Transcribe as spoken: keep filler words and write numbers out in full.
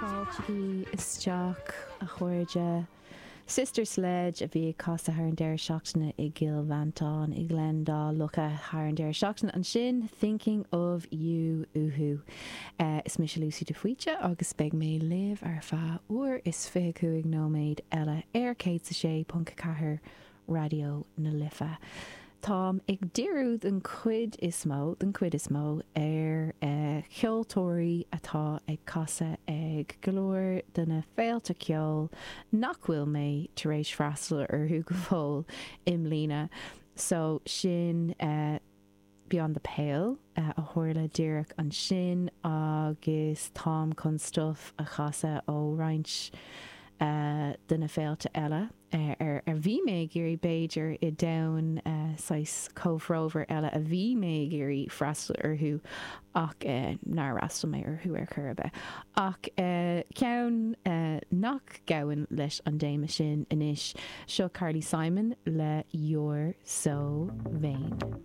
Fáiltigí isteach a chairde. Sister Sledge a bhí ag casadh thar an deireadh seachtaine i gCill Mhantáin i nGleann Dá Locha thar an deireadh seachtaine ansin Thinking of You uathu. Uh, is mise Lucy de Faoite agus beidh mé libh ar feadh uair is fiche cúig nóiméad eile ar céad a sé ponc ceathair Raidió na Life. Táim ag díriú den chuid is mó den chuid is mó ar uh, cheoltóirí atá ag casadh ag go leor de na féilte ceoil nach bhfuil mé tar éis freastal orthu go fóill i mbliana. So sin uh, Beyond the Pale uh, a tharla díreach ansin agus táim chun stuff a chasadh ó roinnt uh, de na féilte eile ar ar a bhí mé ag iarraidh b'fhéidir i dteannta uh, saghas comhthreomhar eile a bhí mé ag iarraidh freastal orthu ach uh, nár fhreastail mé orthu ar chor ar bith. Ach uh, ceann uh, nach gabhann leis an dtéama sin anois seo Carly Simon le You're So Vain.